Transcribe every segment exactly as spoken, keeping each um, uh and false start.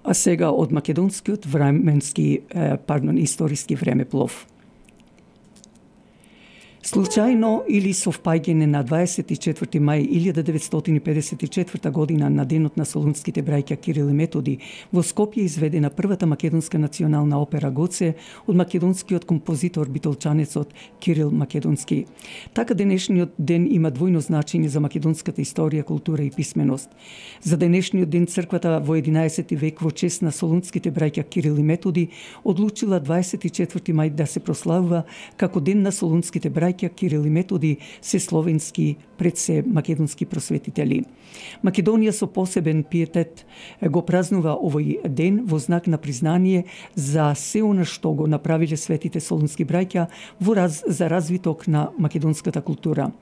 А сега од македонскиот временски, пардон, историски времеплов. Случајно или совпаѓање на дваесет и четврти мај илјада деветстотини педесет и четврта година на денот на солунските браќа Кирил и Методи во Скопје изведена првата македонска национална опера Гоце од македонскиот композитор битолчанецот Кирил Македонски. Така денешниот ден има двојно значење за македонската историја, култура и писменост. За денешниот ден црквата во единаесети век во чест на солунските браќа Кирил и Методи одлучила дваесет и четврти мај да се прославува како ден на солунските браќа Кирил и Методи, се словенски, пред се македонски просветители. Македонија со посебен пиетет го празнува овој ден во знак на признание за се она што го направиле светите солунски браќа во раз, за развиток на македонската култура.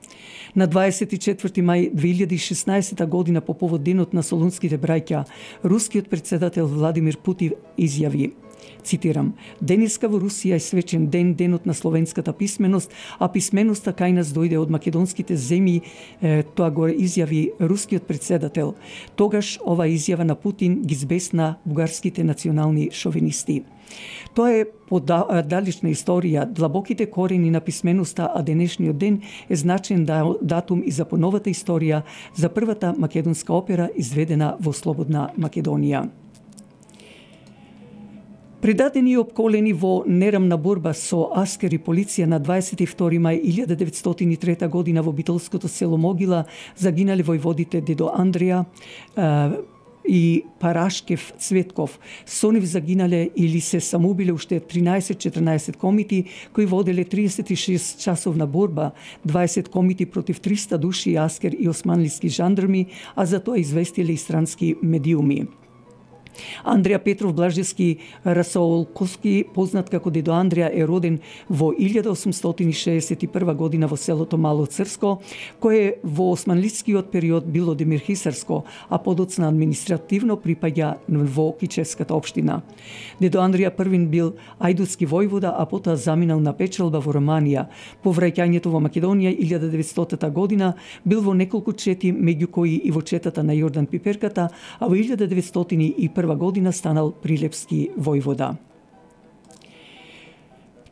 На дваесет и четврти мај две илјади и шеснаесета година по повод денот на солунските браќа, рускиот претседател Владимир Путин изјави, цитирам: "Денеска во Русија е свечен ден, денот на словенската писменост, а писменоста кај нас дојде од македонските земји", тоа го изјави рускиот претседател. Тогаш ова изјава на Путин ги збесна бугарските национални шовинисти. Тоа е подалечна историја, длабоките корени на писменоста, а денешниот ден е значен датум и за поновата историја за првата македонска опера изведена во слободна Македонија. Предадени и опколени во нерамна борба со аскери полиција на дваесет и втори мај илјада деветстотини и трета година во битолското село Могила загинале војводите дедо Андреја и Парашкев Цветков. Со нив загинале или се самоубиле уште тринаесет-четрнаесет комити кои воделе триесет и шест часовна борба, дваесет комити против триста души аскер и османлиски жандарми, а за тоа известиле и странски медиуми. Андреја Петров Блажевски Расолковски, познат како дедо Андреја, е роден во илјада осумстотини шеесет и прва година во селото Мало Црско, кое во османлискиот период било демирхисарско, а подоцна административно припаѓа во Кичевската општина. Дедо Андреја првин бил ајдутски војвода, а потоа заминал на печалба во Романија. По враќањето во Македонија илјада деветстотина година бил во неколку чети, меѓу кои и во четата на Јордан Пиперката, а во илјада деветстотини и прва година станал прилепски војвода.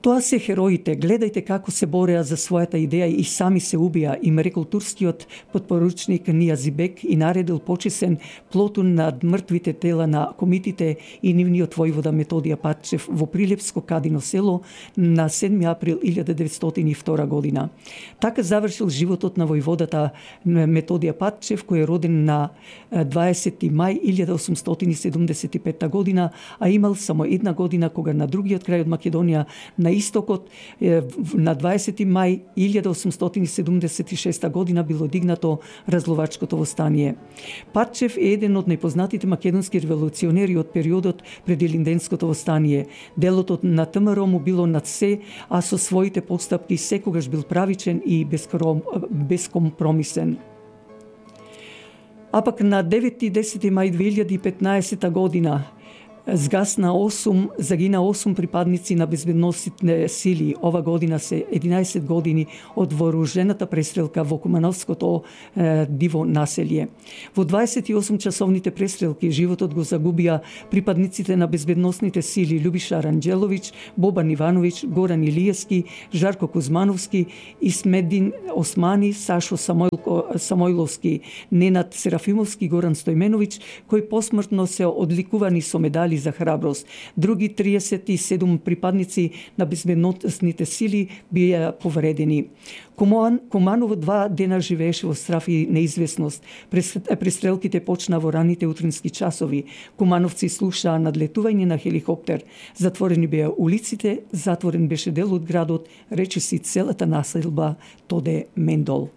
Тоа се хероите, гледајте како се бореа за својата идеја и сами се убија, им рекол турскиот подпоручник Нијазибек и наредил почесен плотун над мртвите тела на комитите и нивниот војвода Методија Патчев во Прилепско Кадино село на седми април илјада деветстотини и втора година. Така завршил животот на војводата Методија Патчев, кој е роден на дваесети мај илјада осумстотини седумдесет и петта година, а имал само една година кога на другиот крај од Македонија, на истокот, на дваесети мај илјада осумстотини седумдесет и шеста година било дигнато разловачкото востание. Патчев е еден од најпознатите македонски револуционери од периодот пред Илинденското востание. Делото на ТМРО му било над се, а со своите постапки секогаш бил правичен и бескомпромисен. А пак на девети и десети мај две илјади и петнаесета година згасна осум, загина осум припадници на безбедносните сили. Ова година се единаесет години од вооружената престрелка во Кумановското е, диво населје. Во дваесет и осум часовните престрелки животот го загубија припадниците на безбедносните сили Љубиша Ранџеловиќ, Бобан Ивановиќ, Горан Илиевски, Жарко Кузмановски, Исмедин Османи, Сашо Самойлко, Самойловски, Ненад Серафимовски, Горан Стојменовиќ, кои посмртно се одликувани со медали за храброст. Други триесет и седум припадници на безбедносните сили бија повредени. Куман, Куманово два дена живееше во страх и неизвестност. Престрелките почна во раните утрински часови. Кумановци слушаа надлетување на хеликоптер. Затворени беа улиците, затворен беше дел од градот, речиси целата населба Тоде Мендол.